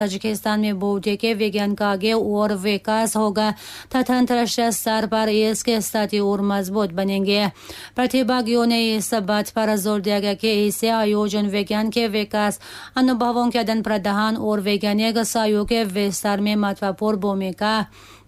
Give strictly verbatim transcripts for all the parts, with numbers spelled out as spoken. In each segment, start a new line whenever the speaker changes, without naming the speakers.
Tajikistan में बौद्धिक विज्ञान का आगे और विकास होगा तथा अंतर्राष्ट्रीय स्तर पर इसके स्थिति और मजबूत बनेंगे। प्रतिभागियों ने इस बात पर जोर दिया गया कि इसे आयोजन विज्ञान के विकास, अनुभवों के आदान प्रदान और वैज्ञानिक सहयोग के विस्तार में महत्वपूर्ण भूमिका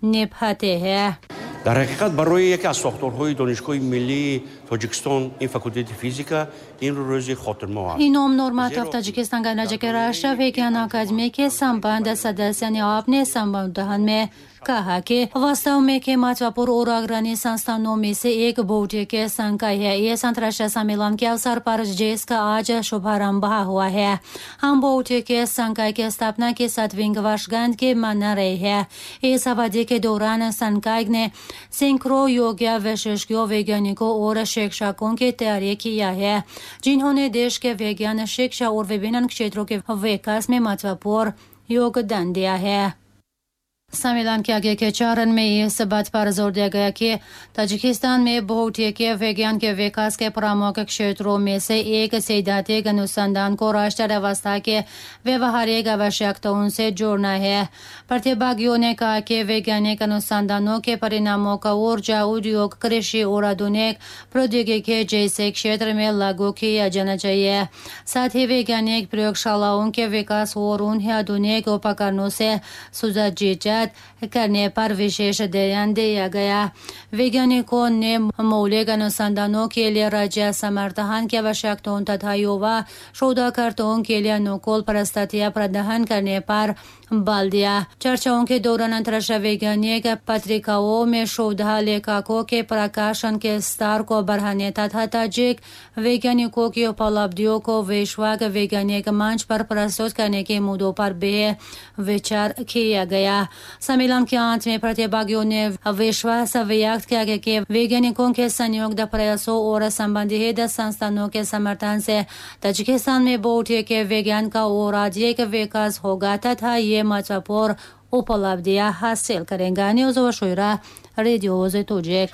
निभाते हैं।
Дар ҳақиқат барои яке аз сохторҳои Донишгоҳи миллии Тоҷикистон ин факултети физика ин рӯзи хотирмо аст.
Ином Нурматов Таджикистан गणराज्य के राष्ट्रीय विज्ञान अकादमी के संबद्ध सदस्य ने अपने संबोधन में कहा कि वास्तव में के महत्वपूर्ण और अग्रणी संस्थानों में से एक बौद्धिक संकाय है। इस अंतर्राष्ट्रीय सम्मेलन के अवसर पर जिसका आज शुभारंभ हुआ है, हम बौद्धिक संकाय की स्थापना के सातवीं वर्षगांठ के मना रहे हैं। इस अवधि के दौरान संकाय ने सैकड़ों योग्य विशेषज्ञों, वैज्ञानिकों और शिक्षकों की तैयारी किया है, जिन्होंने देश के विज्ञान, शिक्षा और विभिन्न क्षेत्रों के विकास में महत्वपूर्ण योगदान दिया है। सम्मेलन के आगे के चरण में इस बात पर जोर दिया गया कि ताजिकिस्तान में भौतिक विज्ञान के विकास के प्रमुख क्षेत्रों में से एक सैद्धांतिक अनुसंधान को राष्ट्रीय व्यवस्था के व्यवहारिक आवश्यकताओं से जोड़ना है। प्रतिभागियों ने कहा कि वैज्ञानिक अनुसंधानों के परिणामों का ऊर्जा, उद्योग, कृषि और आधुनिक प्रौद्योगिकी जैसे क्षेत्र में लागू किया जाना चाहिए। साथ ही वैज्ञानिक प्रयोगशालाओं के विकास और उन्हें आधुनिक उपकरणों से सुसज्जित करने पर विशेष ध्यान दिया गया। वैज्ञानिकों ने मौलिक अनुसंधानों के लिए राज्य समर्थन की आवश्यकताओं तथा युवा शोधकर्ताओं के लिए अनुकूल परिस्थितियां प्रदान करने पर बल दिया। चर्चाओं के दौरान अंतर्राष्ट्रीय वैज्ञानिक पत्रिकाओं में शोध लेखकों के प्रकाशन के स्तर को बढ़ाने तथा ताजिक वैज्ञानिकों की उपलब्धियों को विश्व वैज्ञानिक मंच पर प्रस्तुत करने के मुद्दों पर भी विचार किया गया। सम्मेलन के अंत में प्रतिभागियों ने विश्वास व्यक्त किया कि वैज्ञानिकों के संयुक्त प्रयासों और संबंधित संस्थानों के समर्थन से ताजिकिस्तान में भौतिक विज्ञान का और अधिक विकास होगा तथा ये महत्वपूर्ण उपलब्धियां हासिल करेगा। न्यूज़ शोरा, रेडियो तोजिक।